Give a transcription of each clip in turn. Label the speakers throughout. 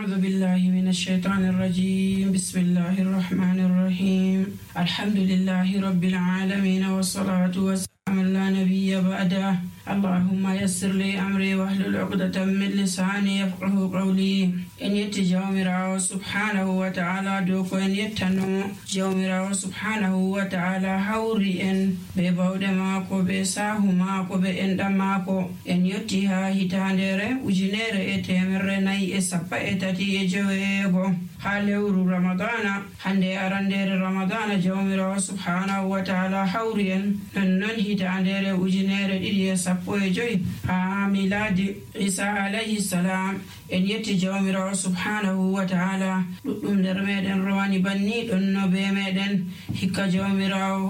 Speaker 1: أعوذ بالله من الشيطان الرجيم. بسم الله الرحمن الرحيم. الحمد لله رب العالمين والصلاة والسلام على نبي بعده. اللهم يسر لي أمري واحلل عقدة من لساني يفقه قولي. إن يتي جومرا سبحانه وتعالى دوكو إن يتنو جومرا سبحانه وتعالى حوري إن ببود ماكو بساه ماكو بإند ماكو إن يتيها هتاندر وجنير إتمر ناي إسابا إتاتي يجويغو حالور رمضان هندي أراندير رمضان جومرا سبحانه وتعالى حوري إن نن هتاندر وجنير إلي سابوي ميلاد عيسى عليه السلام en yetti jawmirawo subhanahu wa ta'ala ɗuɗɗum nder meɗen rowani banni ɗon no be meɗen hikka jawmirawo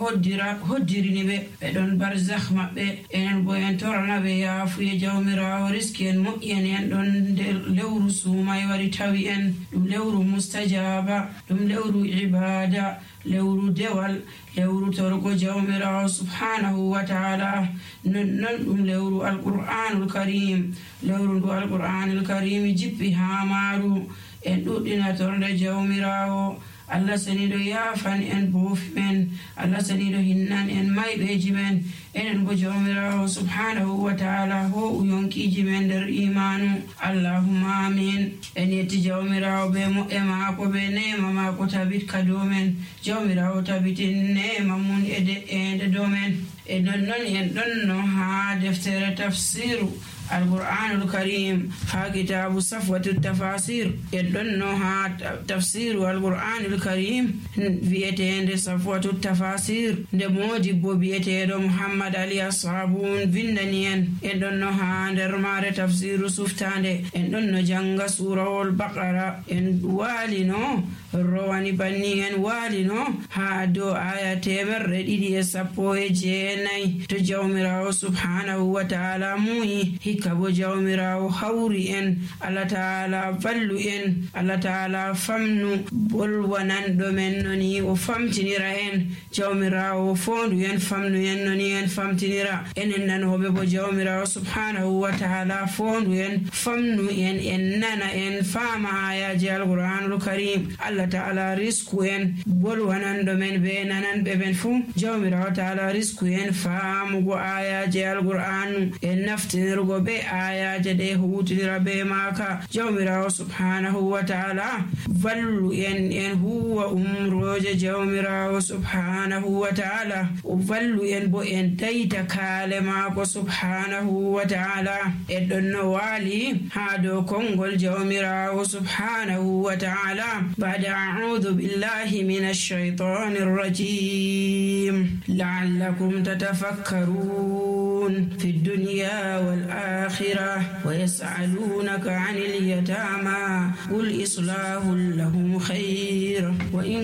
Speaker 1: hoddirini ɓe ɗon barzakh maɓɓe enen bo en torana ɓe yaafuye jawmirawo riski en moƴƴi en ɗon nder lewru suumay wari tawi en ɗum lewru mustajaba ɗum lewru ibada lewru dewal lewru torgo jawmirawo subhanahu wa ta'ala non ɗum lewru alqur'anul karim lewru ndu alqur'anul karim jippi ha maru en ɗuɗɗina torde jawmirawo Allah saniɗo yaafan en boofi men Allah saniɗo hinnan en mayɓeji men enen bo jawmirawo subhanahu wa ta'ala ho uyonkiji men nder imanu allahumma amin. En yetti jawmirawo be mo'e maako be nema maako tabit ka dow men jawmirawo tabitin nema mun e de'ende dow men e nonnon en ɗonno ha deftere tafsiru القرآن الكريم ها كتاب صفوة التفاسير يدلنا ها تفسير القرآن الكريم بيتين صفوة التفاسير نموجب بيتين محمد علي الصابون فيندنيان يدلنا ها درمار تفسير سفتان يدلنا جنگ سورة البقرة والنو رواني بنيان والنو ها دو آيات مردي سبوه جيني تجاومره سبحانه وتعالى موي kabo jawmirawo hawri en Allah taala vallu en Allah taala famnu bolwanan do men noni o famtinira en jawmirawo fondu en famnu en noni en famtinira enen nanobe bo jawmirawo subhanahu wa taala fondu en famnu en nana en fama ayaji alquranul karim Allah taala risku en bolwanan do men be nanan be ben fu jawmirawo taala risku en famugo ayaji alquran en naftirgo be ayaje de hutira be maka jawmirawo subhanahu wa ta'ala vallu en huwa umroje jawmirawo subhanahu wa ta'ala vallu en bo en dayta kale mako subhanahu wa ta'ala en donno wali ha do kongol jawmirawo subhanahu wa ta'ala ba'da a'udhu billahi minash shaitanir rajim la'allakum tatafakkarun fid dunya wal الآخرة ويسألونك عن اليتامى قل إصلاح لهم خير وإن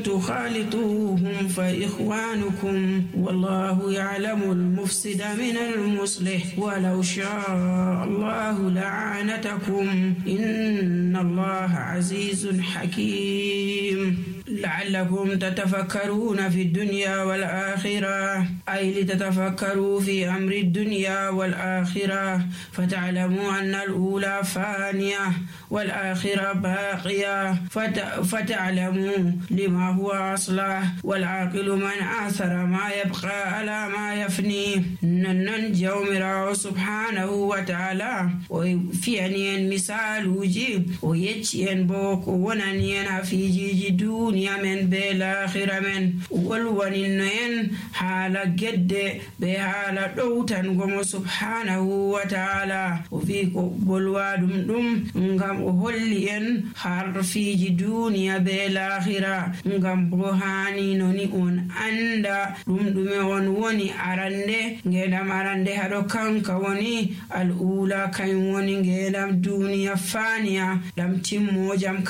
Speaker 1: تخالطوهم فإخوانكم والله يعلم المفسد من المصلح ولو شاء الله لعنتكم إن الله عزيز حكيم لعلكم تتفكرون في الدنيا والآخرة أي لتتفكروا في أمر الدنيا والآخرة فتعلموا أن الأولى فانية والآخرة باقية فتعلموا لما هو أصله والعاقل من آثر ما يبقى على ما يفني نن جومرا سبحانه وتعالى وفينين مثال وجيب ويتشين بوك وننين في جيجي دنيا من بالآخرة من والونين حالة جد بحالة دوتن قم سبحانه وتعالى وفيك بلوادم دم ngam o holli en harfiji duniya be lahira ngam bo hani noni on anda ɗume on woni arande ngedam arande haɗo kanka woni al'ula kanyum woni ngedam duniya faniya ɗam timmojam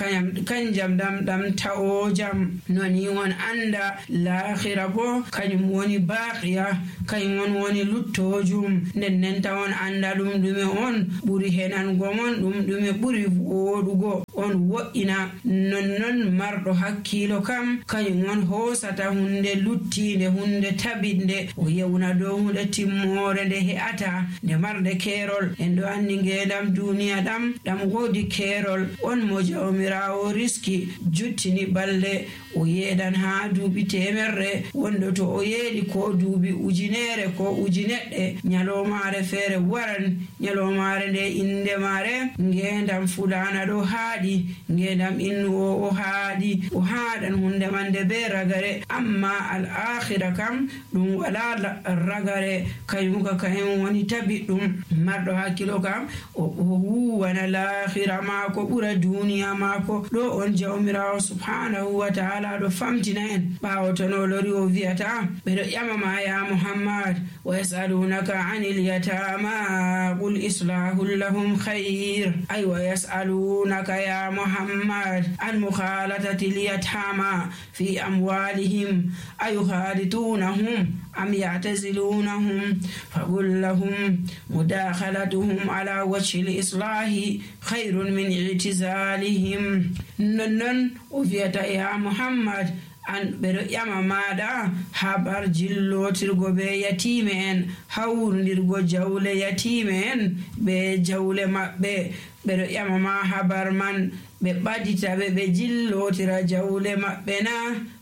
Speaker 1: kanjam ɗam ta'ojam noni on anda lahira bo kanyum woni baqiya kanyum woni luttojum nden tawon anda ɗume on ɓuri henango mon ɗume ɓuri woɗugo on wo'ina. nonnon marɗo hakkilo kam kañum on hoosata hunde luttinde, hunde tabinde, o yewna dow hunde timmore nde he'ata nde marde keerol. en ɗo andi ngendam duniya ɗam woodi keerol. on mo jawmirawo riski juttini balɗe o yeeɗan ha duuɓi temerre, wonɗo to o yeeɗi ko duuɓi ujunere ko ujuneɗɗe, nyalomare feere waran. nyalomare nde inde mare ngendam fulana ɗo haaɗi, ngendam innu o haaɗi, o haaɗan hunde man nde be ragare. amma al akhira kam ɗum wala ragare, kaymuka kayum woni tabi ɗum. marɗo hakkilo kam o huwana lahira maako ɓura duniya maako. ɗo on jawmirawo subhanahu wa ta'ala ɗo famtina en ɓawo to no lori o wi'ata ɓeɗo ƴamama ya muhammad wa yasalunaka anil yatama qul islahu lahum khayr. ay wa yasalunaka ya muhammad an mukhalatati al-yatama fi amwalihim ayukhalitunahum am ya'tazilunahum faqul lahum mudakhalatuhum ala wajhi al-islahi khayrun min i'tizalihim. nonnon o wi'ata ya muhammad an ɓeɗo ƴama maɗa habar jillotirgo be yatime en, hawrundirgo jawle yatime en be jawle maɓɓe. ɓeɗo ƴama ma habar man ɓe ɓadita ɓe jillotira jawle maɓɓe na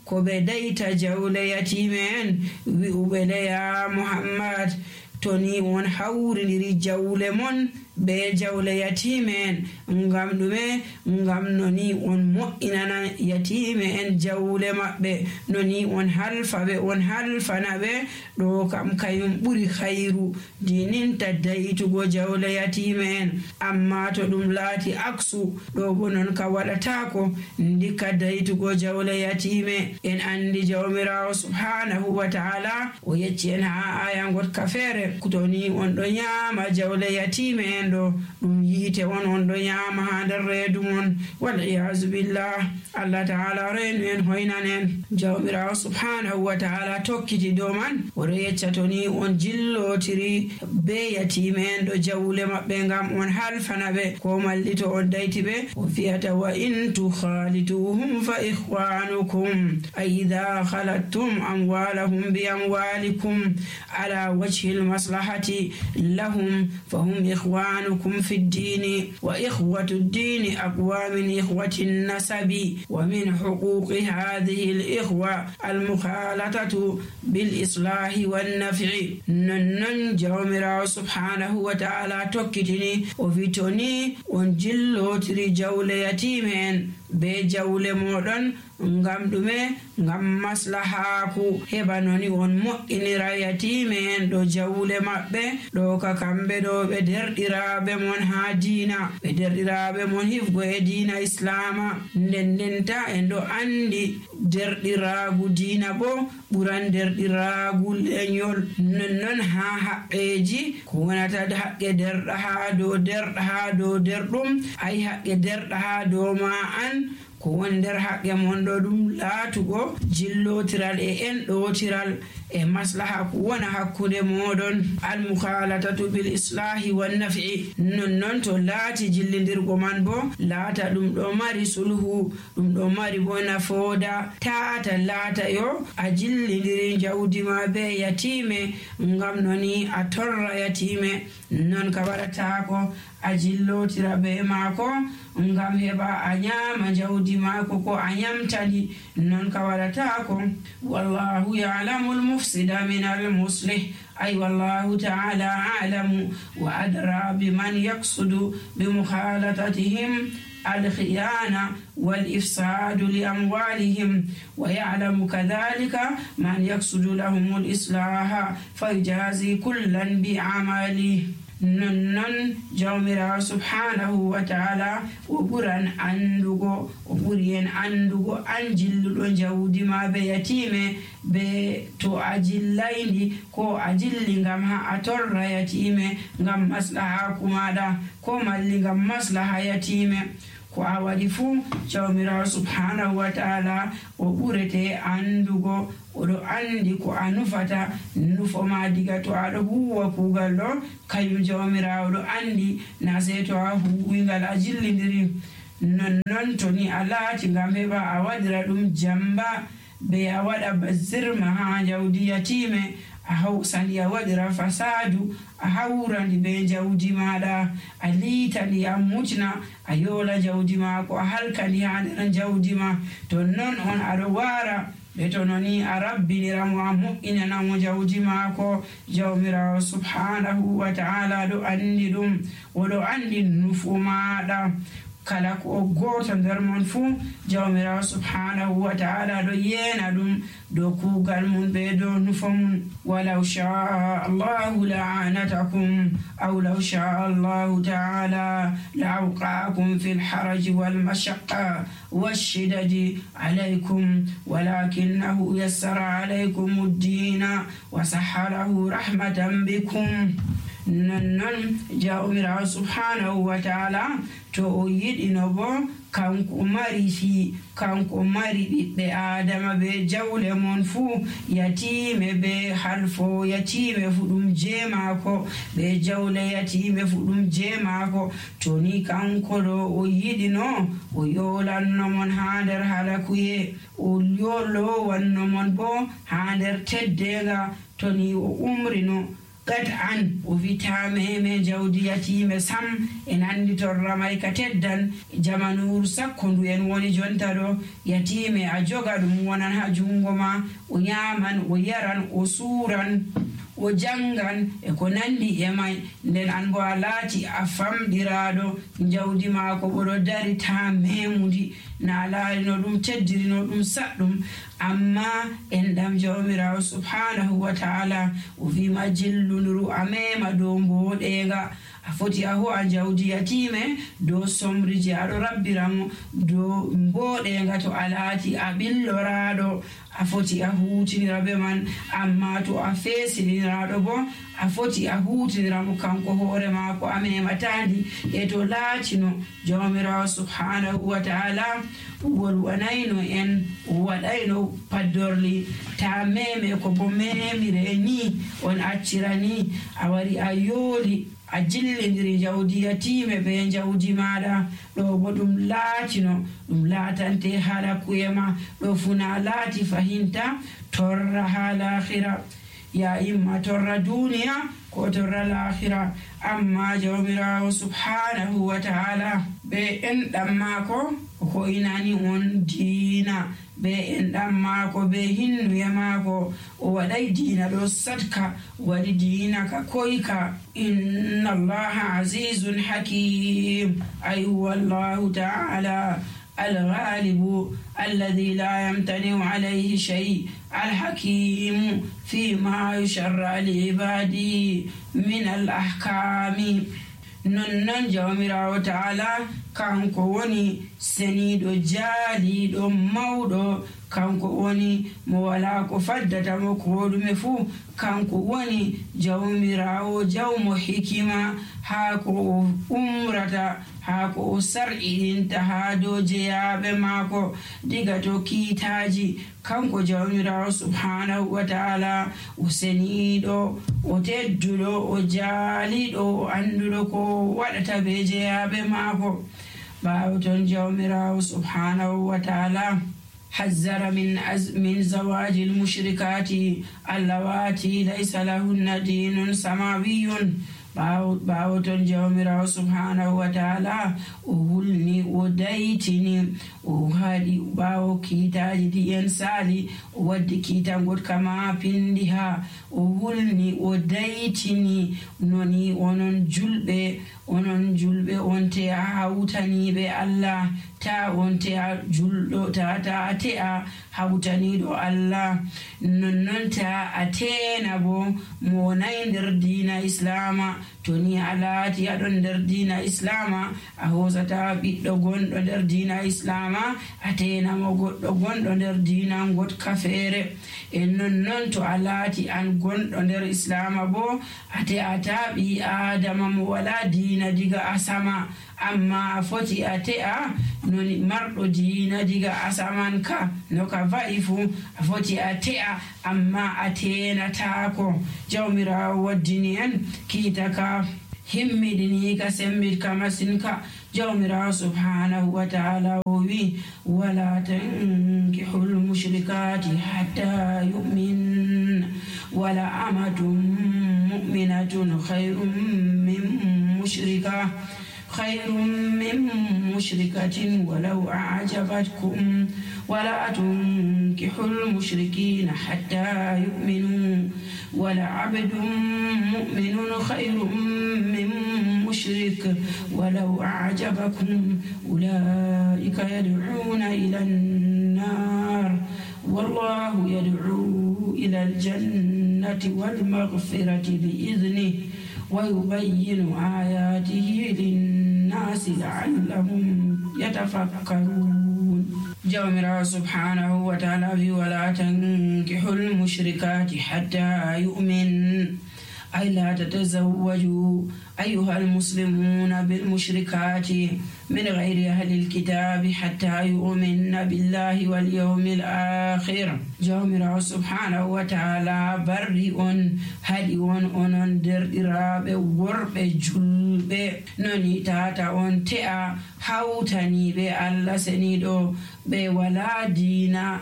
Speaker 1: ko ɓe dayta jawle yatime en. wi'uɓe le ya muhammad to ni on hawrindiri jawle mon be jawle yatime en, ngam ɗume? ngam noni on mo'inana yatime en jawle maɓɓe, noni on halfa ɓe, on halfana ɓe. ɗo kam kayum ɓuri khayru dininta daytugo jawle yatime en. amma to ɗum laati aksu, ɗo bo non ka waɗatako, ndika daytugo jawle yatime. en andi jawmirawo subhanahu wa ta'ala o yecci en ha aya gotka feere, to ni on ɗo nyama jawle yatime en ɗo ɗum yiite on ɗo nyama ha nder reedu mon. wal iyazu billah. allah ta'ala renu en hoynan en. jawmirawo subhanahu wa ta'ala tokkiti dow man oɗo yecca to ni on jillotiri be yatime en ɗo jawle maɓɓe ngam on halfana ɓe ko malli to on dayti ɓe, o fiyata wa in tukhalituhum fa ikhwanukum ay idha khalattum amwalahum bi amwalikum ala wajhi al-maslahati lahum fahum ikhwanukum في الدين وإخوة الدين أقوى من إخوة النسب. ومن حقوق هذه الإخوة المخالطة بالإصلاح والنفع. نن جومرا سبحانه وتعالى توكتني وفيتوني ونجلو تري جول يتيمين be jawle moɗon ngam ɗume? ngam maslahaku heɓa noni on mo'inira yatime en ɗo jawle maɓɓe. ɗo ka kamɓe ɗo ɓe derɗiraɓe mon ha diina, ɓe derɗiraɓe mon hifgo e diina islama. ndendenta en ɗo andi derɗiragu diina bo ɓuran derɗiragu leñol. nonnon ha haqqeji ko wonata haqqe derɗa ha dow derɗum, ay haqqe derɗa ha dow ma an ko woni nder haqqe mon ɗo ɗum laatugo jillotiral e enɗotiral e maslaha ko wona hakkude moɗon. almukhalatatu bil islahi wan naf'i. nonnon to laati jillidirgo man bo laata ɗum ɗo mari sulhu, ɗum ɗo mari bo nafooda. taata laata yo a jillidiri jawdi ma be yatime ngam noni a torra yatime, non ka waɗatako a jillotira be maako ngam heɓa a nyama jawdi maako ko a nyamtani, non ka waɗatako. wallahu ya'lamu al-mufsida min al-muslih. ay wallahu ta'ala a'lamu wa adra biman yaqsudu bi mukhalatatihim الخيانة والإفساد لأموالهم ويعلم كذلك من يقصد لهم الإصلاح فيجازي كلا بعمله. nonnon jawmirawo subhanahu wa ta'ala o ɓuran andugo, o ɓuri en andugo an jilluɗo jawdi ma be yatime be to a jillayndi ko a jilli ngam ha a torra yatime ngam maslaha kumaɗa ko malli ngam maslaha yatime. ko a waɗi fuu jawmirawo subhanahu wa ta'ala o ɓurete andugo, oɗo andi ko a nufata nufo ma diga to aɗo huwa kugal ɗo, kañum jawmirawo ɗo andi na sey to a huwingal a jillidiri nonnon to ni a laati ngam heɓa a waɗira ɗum jamba be a waɗa bazirma ha jawdi yatime a hawsandi a waɗira fasadu a hawrandi be jawdi maɗa a liitandi a mutna a yola jawdi maako a halkandi ha nder jawdi ma to non on aɗo wara ɓe to noni a rabbiniramo a mo'inanamo jawdi maako jawmirawo subhanahu wa ta'ala ɗo andi ɗum oɗo andi nufu maɗa kala ko goto nder mon fuu jawmirawo subhanahu wa ta'ala ɗo yeena ɗum dow kuugal mum ɓe dow nufo mum walaw shaa allahu la'anatakum aw law shaa allahu ta'ala la'awqa'akum fi lharaji walmashaqqa washidadi alaykum walakinahu yassara alaykum uddina wa sahhalahu rahmatan bikum nonnon jawmirawo subhanahu wa ta'ala to o yiɗino bo kanko mari ɓiɓɓe adama be jawle mon fuu yatime be halfo yatime fu ɗum jeemako be jawle yatime fu ɗum jeemako to ni kanko ɗo o yiɗino o yolannomon ha nder halakuye o yolowannomon bo ha nder teddenga to ni o umrino gad an o vitameme jawdi yatime sam en andi torra may ka teddan jamanuru sakko ndu en woni jonta ɗo yatime a joga ɗum wonan ha jungo ma o yaman o yaran o suran o jangan e ko nandi e may nden an bo a laati a famɗiraɗo jawdi maako oɗo dari ta memudi na laarino ɗum teddirino ɗum saɗɗum amma en ɗam jawmirawo subhanahu wa ta'ala o wima jillunuru a mema dow mboɗenga a foti a ho'a jawdi yatime dow somriji aɗo rabbiramo dow mboɗenga to a laati a ɓilloraɗo a foti a hutinira be man amma to a feesiniraɗo bo a foti a hutiniramo kanko hoore maako a mematandi e to laatino jawmirawo subhanahu wa ta'ala wolwanayno en waɗayno paddorli ta meme ko bo memire ni on accirani a wari a yooli a jillidiri jawdi yatime be jawdi maɗa ɗo bo ɗum laatino ɗum laatante halakuye ma ɗo funa laati fahinta torra ha lahira ya imma torra duniya ko torra lahira amma jawmirawo subhanahu wa ta'ala be enɗam maako ko inani on diina be enɗam maako be hinnuye maako o waɗay diina ɗo sadka waɗi diina ka koyka inna allaha azizun hakim ay wallahu ta'ala الغالب الذي لا يمتنع عليه شيء الحكيم فيما يشرع لعباده من الأحكام nonnon jawmirawo ta'ala kanko woni seniɗo jaaliɗo mawɗo kanko woni mo wala ko faddatamo ko ɗume fuu kanko woni jawmirawo jawmo hikima haa ko o umrata haa ko o sar'iɗinta haa dow jeyaɓe maako diga to kiitaji kanko jawmirawo subhanahu wa ta'ala o seniɗo o tedduɗo o jaaliɗo o anduɗo ko waɗata be jeyaɓe maako ɓaawo ton jawmirawo subhanahu wa ta'ala حذر من زواج المشركات اللواتي ليس لهن دين سماوي ɓaawo ton jawmirawo subhanahu wa ta'ala o hulni o daytini o haɗi ɓaawo kiitaji ɗi en saali o waddi kiitangol kama pindi ha o hulni o daytini noni onon julɓe on te a hawtaniɓe Allah ta on te a julɗo ta te a hawtaniɗo Allah nonnon ta a tena bo mo nayi nder diina islama to ni a laati aɗon nder diina islama a hosata ɓiɗɗo gonɗo nder diina islama a tenamo goɗɗo gonɗo nder diina gotka feere e nonnon to a laati an gonɗo nder islama bo a te'ata ɓi adama mo wala diina diga asama amma a foti a te'a noni marɗo diina diga asaman ka no ka va'i fu a foti a te'a amma a tenatako jawmirawo waddini en kiita ka himmiɗini ka sembit ka masin ka jawmirawo subhanahu wa ta'ala o wi wala tankihul mushrikati hatta yu'min wala amatun mu'minatun khayrun min mushrikatin walau a'jabatkum ولا تنكحوا المشركين حتى يؤمنوا ولعبد مؤمن خير من مشرك ولو أعجبكم أولئك يدعون إلى النار والله يدعو إلى الجنة والمغفرة بإذنه ويبين آياته للناس لعلهم يتفكرون جاء سبحانه وتعالى ولا تنكحوا المشركات حتى يؤمن أي لا تتزوجوا أيها المسلمون بالمشركات من غير أهل الكتاب حتى يؤمن بالله واليوم الآخر جاء سبحانه وتعالى برئ هدئ أنن درئراب ورب جلب نوني تاتا أن تأ حوتني بألا سنيدو بولا دينا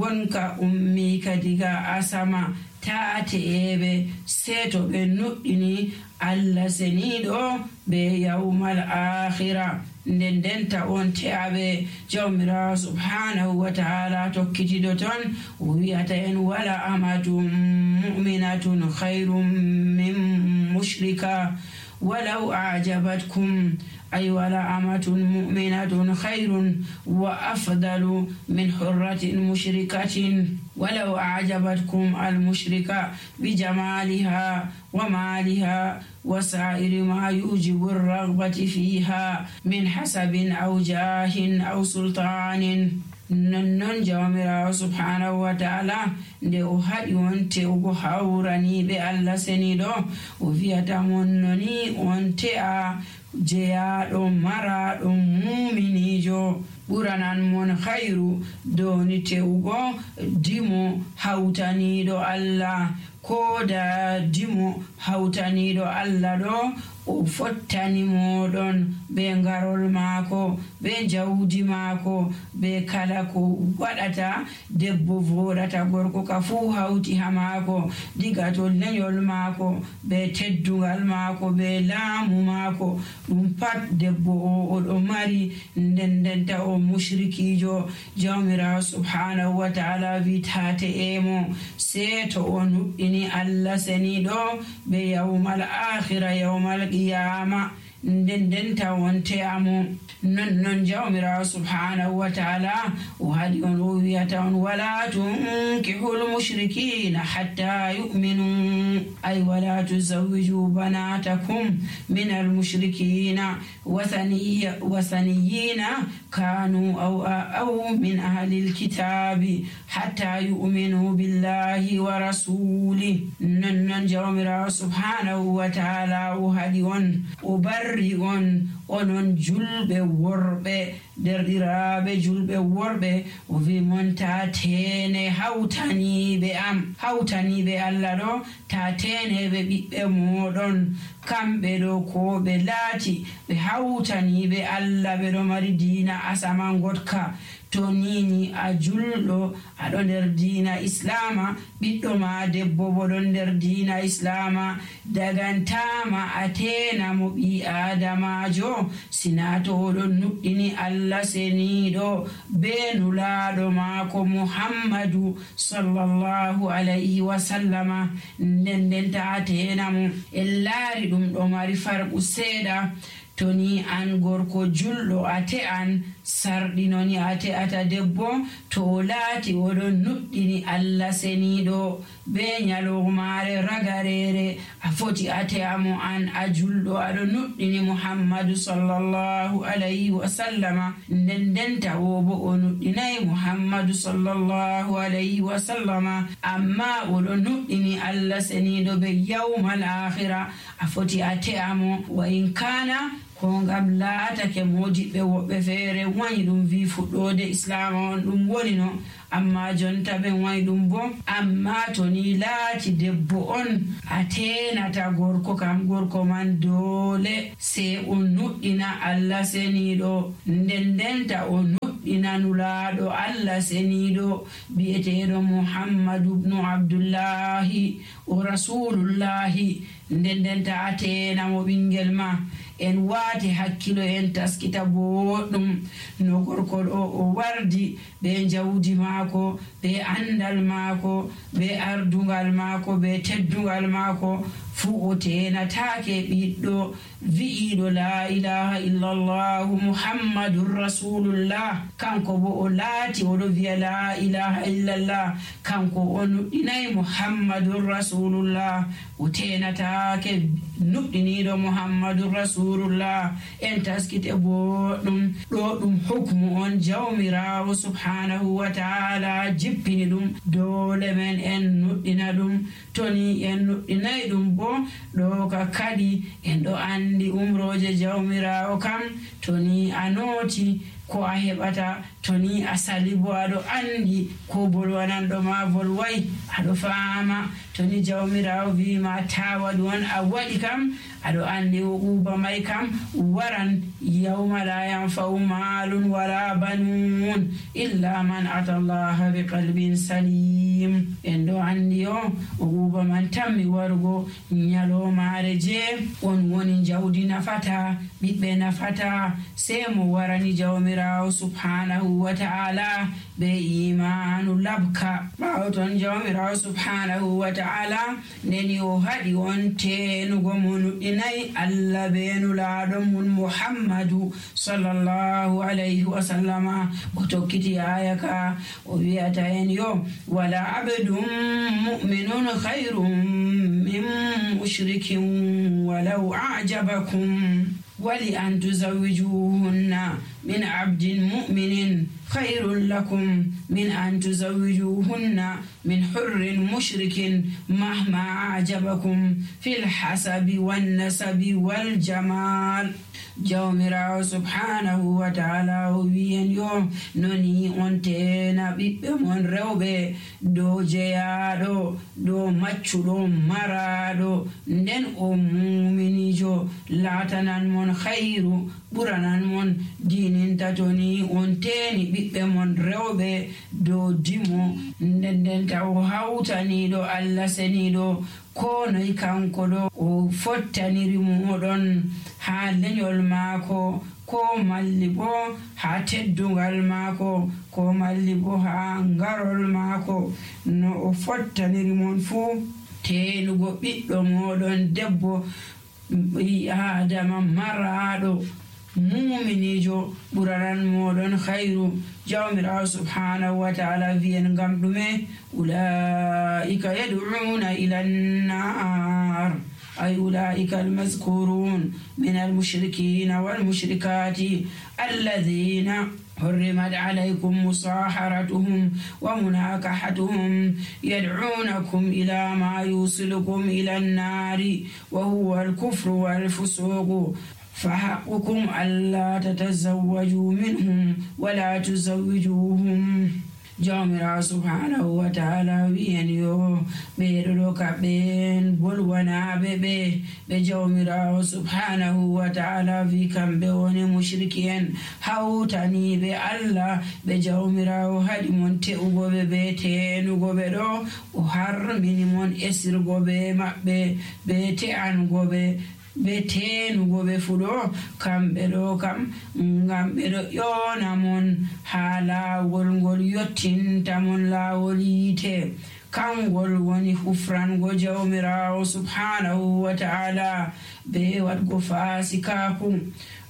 Speaker 1: wonka ummi kadiga asama taate ebe seto be nuddini alla senido be yawmal akhirah ndendenta on teabe jawmira subhanahu wa ta'ala tokkitido ton wiyata en wala amatum mu'minatun khairum min mushrika walau a'jabatkum أي ولا أمة مؤمنة خير وأفضل من حرة مشركة ولو أعجبتكم المشركة بجمالها ومالها وسائر ما يوجب الرغبة فيها من حسب أو جاه أو سلطان نن جامرا سبحانه وتعالى nde o haɗi on te'ugo hawrani ɓe Allah seniɗo o wiyata mon noni on te'a jeyaɗo maraɗo muminijo ɓuranan mon khayru doni te'ugo dimo hawtaniɗo Allah ko da dimo hawtaniɗo Allah ɗo o fottani moɗon be ngarol maako be jawdi maako be kala ko waɗata debbo voɗata gorko ka fuu hawti ha maako diga to lenyol maako be teddungal maako be laamu maako ɗum pat debbo o oɗo mari ndendenta o mushrikijo jawmirawo subhanahu wa ta'ala witate emo seto o nuɗɗini Allah seniɗo be yawmal akhira yawmal qiyama ndendenta wonte amo non jawmirawo subhanahu wa ta'ala o haɗi on o wiyata on wala tunkihul mushrikina hatta yu'minu ay wala tuzawwiju banatakum min almushrikina wasaniyina kanu aw min ahli alkitabi hatta yu'minu billahi wa rasuli non jawmirawo subhanahu wa ta'ala o haɗi on o barri on onon julɓe worɓe derɗiraɓe julɓe worɓe o wi mon ta tene hawtaniɓe am hawtaniɓe Allah ɗo ta teneɓe ɓiɓɓe moɗon kamɓe ɗo ko ɓe laati ɓe hawtaniɓe Allah ɓe ɗo mari diina asaman gotka to nini a julɗo aɗo nder diina islama ɓiɗɗo ma debbo bo ɗon nder diina islama dagantama a tenamo ɓi adamajo sina to oɗon nuɗɗini Allah seniɗo be nulaɗo maako Muhammadu sallallahu alayhi wa sallama ndendenta a tenamo en laari ɗum ɗo mari farqu seeɗa to ni an gorko julɗo a te'an sarɗinoni a te'ata debbo to o laati oɗon nuɗɗini Allah seniɗo be nyalomare ragarere a foti a te'amo an a julɗo aɗo nuɗɗini Muhammadu sallallahu alayhi wa sallama ndendenta wo bo o nuɗɗinayi Muhammadu sallallahu alayhi wa sallama amma oɗo nuɗɗini Allah seniɗo be yawmal akhira a foti a te'amo wa in kana ko ngam laatake modiɓɓe woɓɓe feere wayi ɗum wi fuɗɗode islam on ɗum woni no, amma jonta ɓen wayi ɗum bo. Amma to ni laati debbo on a tenata gorko kam, gorko man doole sai o nuɗɗina Allah seniɗo, ndendenta o nuɗɗina nulaaɗo Allah seniɗo bi'eteɗo Muhammadu ibnu Abdullahi o rasulullahi, ndendenta a tenamo ɓingel ma. En waati hakkilo en taskita boɗɗum no gorko ɗo o wardi be jawdi maako, be andal maako, be ardungal maako, be teddungal maako, fuu o tenatake ɓiɗɗo wi'iɗo la ilaha illallah muhammadun rasulullah. Kanko bo o laati oɗo wiya la ilaha illallah, kanko o nuɗɗinayi muhammadun rasulullah, o tenatake nuɗɗiniɗo muhammadun rasulullah. En taskite boɗɗum ɗo ɗum hukmu on jawmirawo subhanahu wa ta'ala jippini ɗum, dole men en nuɗɗina ɗum. Toni en nuɗɗinayi ɗum bo ɗo ka kadi en ɗo andi umroje jawmirawo kam toni a noti ko a heɓata, toni a sali bo aɗo andi ko bolwananɗo ma bolway, aɗo faama toni jawmirawo wima ta waɗu on a waɗi kam aɗo andi o uba may kam waran yawma la yanfa'u malun wala banun illa man ata allaha bi qalbin salim. En ɗo andi o uba man tammi warugo nyalomare je on woni jawdi nafata, ɓiɓɓe nafata, sai mo warani jawmirawo subhanahu wa ta'ala be imanu labka. ɓawo ton jawmirawo subhanahu wa ta'ala ndeni o haɗi on tenugo mo nuɗɗinayi Allah be nulaɗo mun Muhammadu sallallahu alayhi wa sallama. O tokkiti aya ka o wiyata en yo wala abdun mu'minun khayrun min mushrikin walau a'jabakum wali an tuzawwijuhunna min abdin mu'minin khayrun lakum min an tuzawwijuhunna min hurrin mushrikin mahma a'jabakum fil hasabi wan nasabi wal jamal. Jawmirawo subhanahu wa ta'ala o wiyen yo noni on tena ɓiɓɓe mon rewɓe dow jeyaɗo, dow maccuɗo maraɗo, nden o muminijo latanan mon khayru, ɓuranan mon dininta toni on teni ɓiɓɓe mon rewɓe dow dimo, ndendenta o hawtaniɗo Allah seniɗo ko noy kanko ɗo o fottaniri moɗon ha lenyol maako, ko malli bo ha teddungal maako, ko malli bo ha ngarol maako, no o fottaniri mon fuu. Tenugo ɓiɗɗo moɗon debbo adama maraɗo muminijo ɓuranan moɗon khayru. Jawmirawo subhanahu wa ta'ala wiyen ngam ɗume ulaika yad'una ila an-nar ay ulaika al-mazkurun min al-mushrikin wal-mushrikati alladhina حرمت عليكم مصاحرتهم ومناكحتهم يدعونكم إلى ما يوصلكم إلى النار وهو الكفر والفسوق فحقكم ألا تتزوجوا منهم ولا تزوجوهم. Jawmirawo subhanahu wa ta'ala wiyen yo ɓeɗo ɗo kaɓen bolwanaɓe ɓe jawmirawo subhanahu wa ta'ala wi kamɓe woni mushriki en hawtaniɓe Allah ɓe jawmirawo haɗi mon te'ugoɓe be tenugoɓe ɗo o harmini mon esirgo be maɓɓe be te'angoɓe be tenugoɓe fuɗo kamɓe ɗo kam ngam ɓe ɗo ƴona mon ha laawol ngol yottinta mon laawol yiite, kangol woni hufrango jawmirawo subhanahu wa ta'ala be waɗgo fasikaku.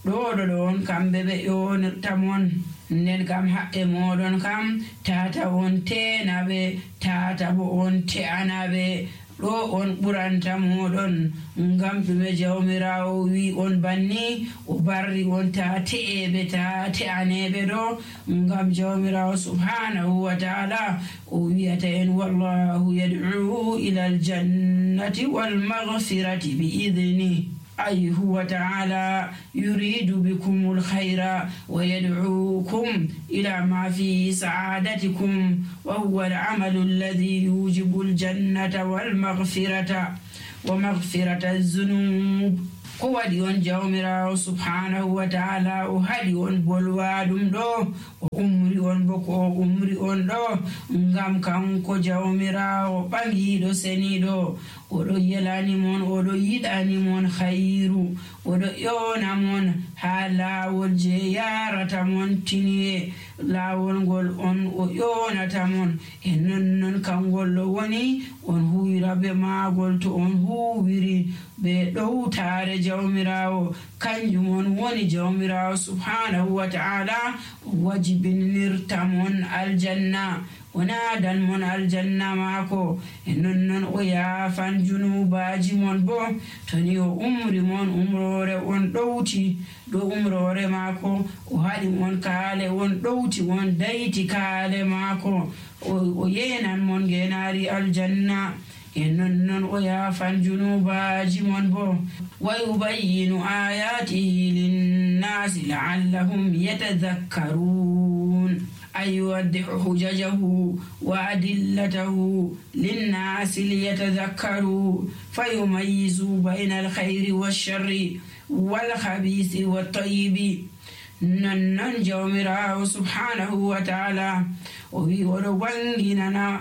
Speaker 1: ɗoɗo ɗon kamɓe ɓe ƴonirta mon, nden kam haɓɓe moɗon kam tata on tenaɓe, tata bo on te'anaɓe. ɗo on ɓuranta moɗon ngam ɗume jawmirawo wi on banni o barri on ta te'eɓe ta te'aneɓe ɗo ngam jawmirawo subhanahu wa ta'ala o wiyata en wallahu yad'u ila aljannati wal maghfirati bi idni أي هو تعالى يريد بكم الخير ويدعوكم إلى ما فيه سعادتكم، وهو العمل الذي يوجب الجنة والمغفرة ومغفرة الذنوب. ko waɗi on jawmirawo subhanahu wa ta'ala o haɗi on bolwaɗum ɗo o umri on bo ko o umri on ɗo ngam kanko jawmirawo ɓangiɗo seniɗo, oɗo yelanimon, oɗo yiɗanimon khairu, oɗo ƴona mon ha lawol je yarata mon tiniye, lawol ngol on o ƴonata mon, e nonnon kangol ɗo woni on huwira be magol. To on huwiri be ɗowtare jawmirawo, kanjum on woni jawmirawo subhanahu wa ta'ala wajibinirta mon aljanna, o nadan mon aljanna maako, e nonnon o yaafan junubaji mon bo. toni o umri mon umrore on ɗowti ɗo umrore maako, o haɗi mon kaale on ɗowti on dayti kaale maako, o yenan mon genari aljanna, e nonnon o yaafan junubaji mon bo. wa yubayyinu ayatihi linnasi la'allahum yatadhakkarun, أي يوضح حججه وأدلته للناس ليتذكروا فيميزوا بين الخير والشر والخبيث والطيب. ننن جومراه سبحانه وتعالى ويورو وانجننا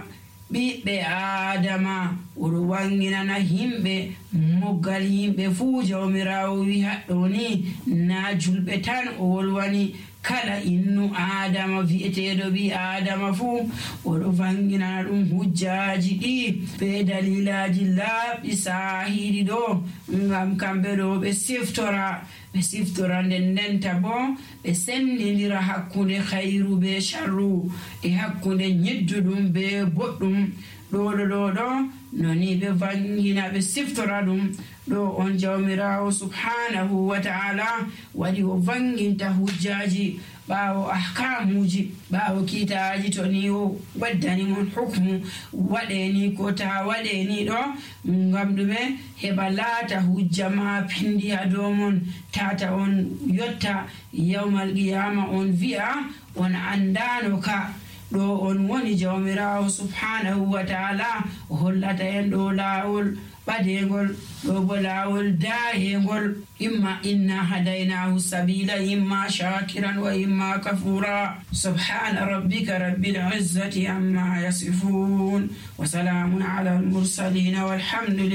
Speaker 1: ɓiɓɓe adama, oɗo wanginana himɓe moggal himɓe fuu. jawmirawo wi haɗɗo ni na julɓe tan o wolwani, kala innu adama vi'eteɗo ɓi adama fuu oɗo wanginana ɗum hujjaji ɗi be dalilaji laaɓɗi sahiɗi ɗo, ngam kamɓe ɗo ɓe siftora ndendenta bo ɓe sendidira hakkunde khairu be sharru, e hakkunde nyedduɗum be boɗɗum. ɗo noni ɓe vangina ɓe siftora ɗum ɗo on jawmirawo subhanahu wa ta'ala waɗi o vanginta hujjaji ɓawo ahkamuji, ɓawo kitaji. to ni o waddani mon hukmu waɗeni ko ta waɗeni ɗo, ngam ɗume heɓa laata hujja ma pindi ha dow mon, tata on yotta yawmal qiyama on vi'a on andano ka. ɗo on woni jawmirawo subhanahu wa ta'ala o hollata en ɗo laawol ɓadegol, ɗo bo laawol daayengol. imma inna hadaynahu sabila imma shakiran wa imma kafura. subhana rabbika rabbil izzati amma yasifun wa salamun ala al mursalin walhamdulillah.